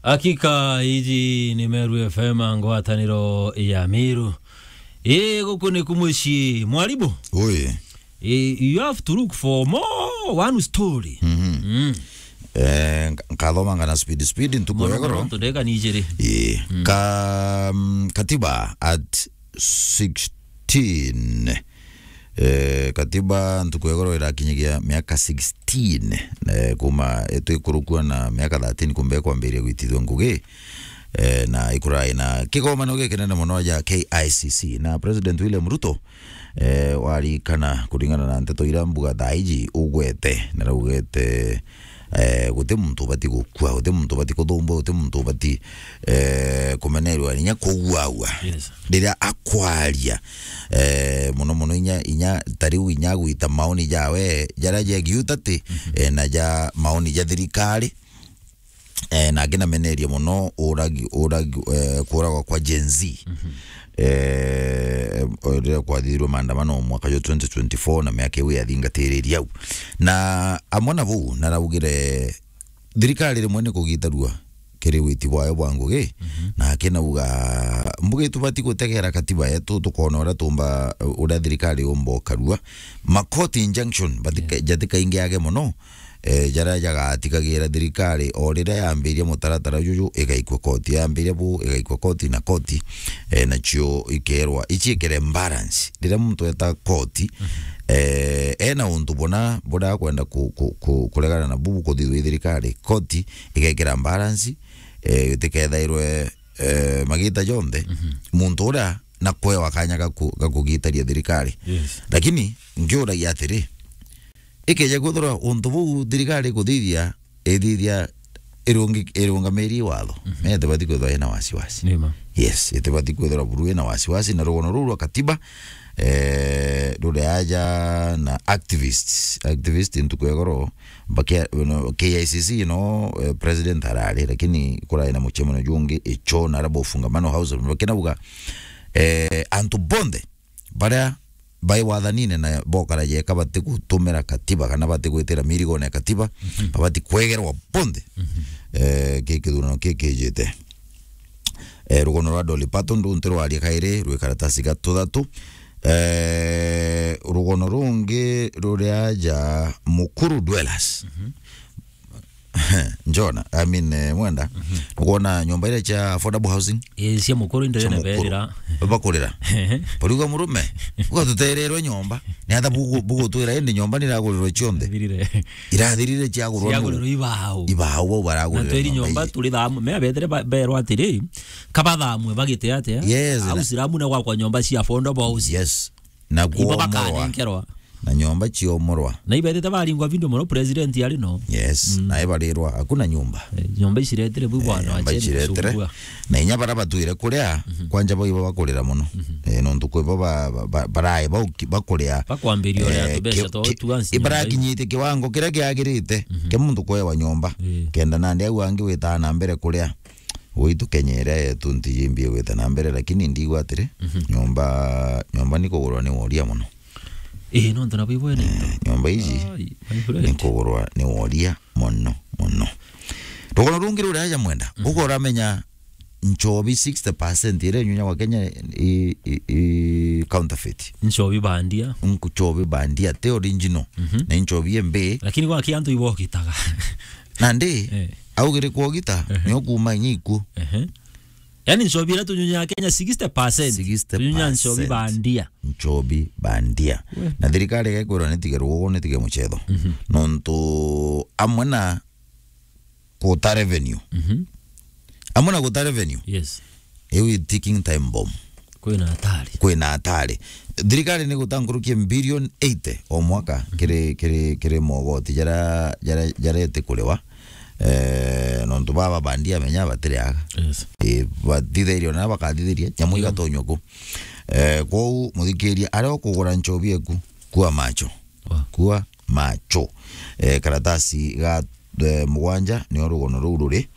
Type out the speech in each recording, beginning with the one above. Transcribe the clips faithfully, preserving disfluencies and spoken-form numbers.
Hakika, iji ni Meru F M, ngwataniro ya Meru. Ii, guku ni ku mucii, mwarimu. Ui. Ii, you have to look for more one story. Mhm. Mm. Eh, nka-, nkathomanga na speed, speed, ntuku ya goro. Mono, mono, ndeka ni ijiri. Ii. Mm. Ka-, mm, katiba at sixteen. Eh, katiba ntuku ya goro irakinyagia miaka sixteen, eh, kuma, eh, twikurukua na miaka thirteen kumbe kwambiriria gwitithua ngugi, eh, na ikurai na kigomano gikinene mono ja K I C C na President William Ruto, eh, warikana kuringana na nteto ira mbuga thaa iji ugwete, na raugete, eh, guti muntu ubati gukua, guti muntu ubati kuthumbwa, guti muntu ubati, eh, kumenerwa, inya kuguagua. Yes. Riria akwaria, eh, mono mono inya, inya ta riu inya gwita maoni jawe, jaria jegiu tati, mhm, eh, na ja maoni ja thirikari, eh, na angi namenerie mono uragi, uragi, eh, kuragwa kwa Gen Z. Mhm. Eh, riria kwathithirwe maandamano mwaka jwa twenty twenty-four na miaka iu yathingatiriria au. Na amwe na buu, naraugire thirikari rimwe ni kugitarua kiri witi bwayo bwa ngugi, mhm, na akinauga, mbugi tubati gutegera katiba yetu, tukona uria tumba, uria thirikari yumba ukarua. Ma court injunction, batika-, yeah, jatikaingiage mono, eh, jaria jagatigagira thirikari o riria yambiria mutaratara juju, igaikua koti, yambiria bu, igaikua koti na koti, eh, nacio ikerwa, iciikire balance. Riria muntu eta koti, mhm, eh, ena untu buna buria akwenda ku-, ku-, ku-, kuregana na bubu kuthithua i thirikari, koti igekira balance, eh, itikethairwe, eh, magita jonthe, mhm, muntu uria na kwewa kanya ga ku-, ga kugitaria thirikari. Yes. Lakini ngiuragia atiri, ikeja kwithirwa untu buu thirikari ikuthithia, ithithia irungi-, irungamiri watho, mhm, me itibati kwithirwa ina wasiwasi. Nima. Yes, itibati kwithirwa buru ina wasiwasi, na rugono ruu rwa katiba, eh, ruri aja na activists. Activist ntuku ya goro, bakia-, no, K I C C no, eh, president arari, lakini kurai na mucemano jungi icho na arabo fungamano house, bakinauga, eh, antu bonthe baria bai wathanine na bokara jeka batigutumira katiba kana batigwitira mirigone ya katiba, mhm, babati kwegerwa bonthe. Mhm. Eh, ki kithurano ki kijite. Eh, rugono rwa Dolly Parton runti rwaria kairi rwi karatasi ga tuthatu. Eh, rugono rungi ruri aja Mukuru Dwellers. Mhm. Njona, I mean, eh, Mwenda, mhm, nukwona nyomba iria cia affordable housing? Eh, cia Mukuru indi cia Mukuru. Berira. Bakurira. Ehe. Bariuga, murume, ugatutererwe nyomba. Ni atha bugu-, bugutwira indi nyomba ni iragurirwe cionthe? Irathirire. Irathirire ciagurwa nu? Ciagurirwe ibao. Ibao bau baragurira. Na tweri nyomba ici. Turi thamu, me abethire ba-, berwa atiri, kabathamwe bagite atia? Yes, au na Siramu na gwakwa nyomba cia affordable housing. Yes. Na ibo kuomorwa. Bakanenkerwa. Na nyomba ciomorwa. Na ibetete baringwa bindo mono president ari no. Yes, mm, na ibarirwa, hakuna nyumba. Eh, nyomba iciretire bu. Eh, bwana, nyomba acheni iciretire kusumbua. Na inya bara batwire kuria, mhm, kwanja bo ibo bakurira mono. Mhm. Eh, nontu kwi bo ba-, ba-, ba-, barae bauki-, bakuria. Bakwambiria uria, eh, tubeca ki-, twa ki-, tuansi nyumba ibarakinyite kiwango kiria kiagirite, mhm, kia muntu kwewa nyomba. Eh. Kenda nandi au angi witaa na mbere kuria. Gwitu Kenya iria yetu ntiji mbi igwita na mbere, lakini ndigwa atiri, mhm, nyomba, nyomba ni kugurwa ni woria mono. Ii, nontu nabo ibwene into. Eh, nyomba iji ai, my friend, ni kugurwa ni woria mono, mono. Rugono rungi ruria aja Mwenda, mhm, uko uramenya nchobi sixty percent iria inyunyagwa Kenya i, i, i counterfeit. Nchobi bandia. Nchobi bandia, ti original. Mhm. Na nchobi embi. Lakini gwaki antu ibokitaga. Nandi, eh, augire kwogita, ehe, ni ukuma inya ikuo. Ehe. Yani nchobi iria tunyunyaga Kenya sixty percent. Sixty percent. Tunyonya nchobi bandia. Nchobi bandia. We. Na thirikari igakwirwa nitige rugugu, nitige mucetho. Mhm. Nontu amwe na kuta revenue. Mhm. Amwe na guta revenue. Yes. Iu i ticking time bomb. Kwina hatari. Kwina hatari. Thirikari ni guta nkuruki ya billion eighty o mwaka, mhm, kiri, kiri, kiri mogoti jara, jara, jara iti kuriwa. Eh, nontu baba bandia menya batiriaga. Yes. Eh, bathithirio na bakathithiria, nyamu, mm, igatonywa ku. Eh, kwou muthikiria, aria ukugura nchobi eku, kua macho. Wa. Kua macho. Eh, karatasi ga, eh, mugwanja nio rugono ruu ruri.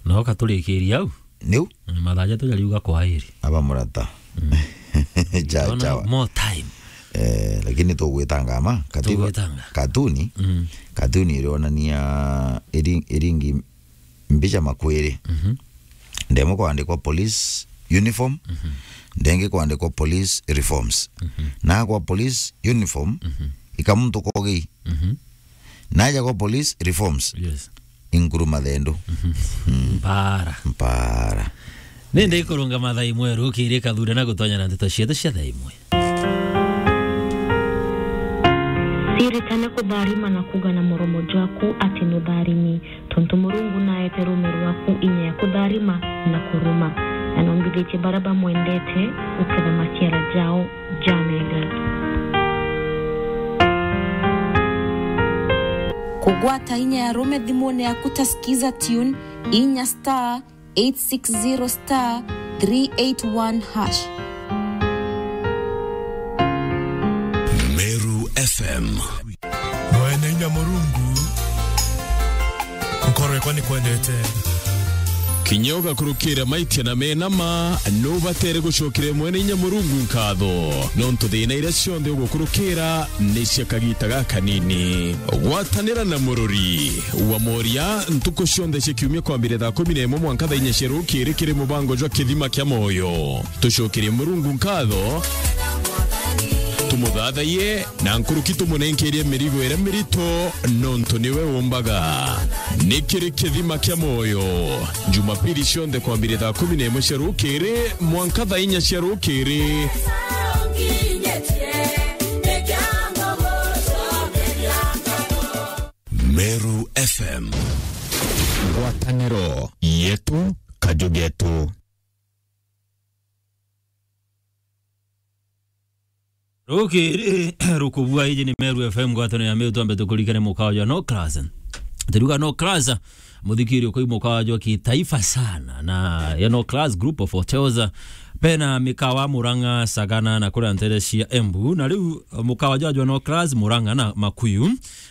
No katurikiria au. Niu? Mm, mathaa jatu jariuga kwairi. Aba murata. Mm. Cha, ndona chawa. More time. Eh, lakini tugwitanga ma, katiba, tugwitanga. Katuni, mm, katuni irionania iri-, iringi Mbicha makwiri. Mhm. Ndemwe kwandikwa police uniform, mhm, ndengi kwandikwa police reforms. Mhm. Na kwa police uniform, mhm, ika muntu kogi. Mhm. Naja kwa police reforms. Yes. Inguru mathendu. Mhm. Mm. Mpara. Mpara. Nende ikurunga mathaa imwe rukiri kathura na gutonya na ndeto cietu cia thaa imwe. Ciritane kutharima na kuga na muromo jwaku ati nutharimi, tontu Murungu naete rume rwaku inya ya kutharima na kuruma, na nombithitie baria bamwendete guketha maciara jao jamega. Kugwata inya ya rume thimune yaku ta Skiza Tune, inya star eight six zero star three eight one hash. Meru F M. Mwene inya Murungu, nkoro yakwa ni kwendete. Kinya ugakurukira maitia na mena ma, nubatere gucokera mwene inya Murungu nkatho, nontu thina iria cionthe ugukurukira ni cia kagita gakanini. Gwatanira na murori wa moria ntuku cionthe cia kiumia kwambire thaa kumi na imwe mwanka thaa inya cia rukiri kiri mubango jwa Kithima kia Moyo. Tucokerie Murungu nkatho, tumuthathaiye, na nkuruki tumunenkerie mirigo iria mirito, nontu niwe umbaga. Ni kiri Kithima kia Moyo, Jumapili cionthe kwambire thaa kumi na imwe cia rukiri mwanka thaa inya cia rukiri. Meru F M. Ngwataniro yetu, kaju getu. Rukiri rukubua, iji ni Meru F M, ngwataniro ya Meru, twambe tukurikane mukawa jwa No Class. Turuga No Class, muthikiri ukoi mukawa jwa kitaifa sana, na ya No Class Group of Hotels, bena mikawa Murang'a, Sagana na kuria ntere cia Embu, na riu mukawa jwa jwa No Class Murang'a na Makuyu,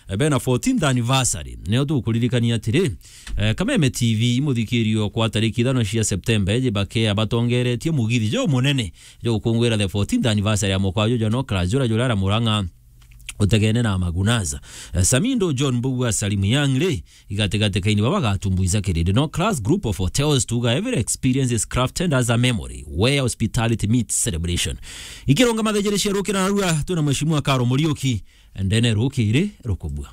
eh, bena fourteenth anniversary. Nio tukuririkania atiri, eh, Kameme T V imuthikirio kwa tariki ithano cia Septemba, eji bakea batongeretie mugithi jo munene jo gukungwira the fourteenth anniversary ya mukawa jwa jwa No Class, jura jura ara Murang'a utegene na Magunaza. Eh, Samindo John Mbugua Salim Young ri, igatigati kaini baba gatumbuiza kirindi. No Class Group of Hotels tuga, "Every experience is crafted as a memory where hospitality meets celebration." Ikirunga mathejere cia rukira narua, twina Mheshimiwa Karo Muriuki, ndene rukiri rukubua.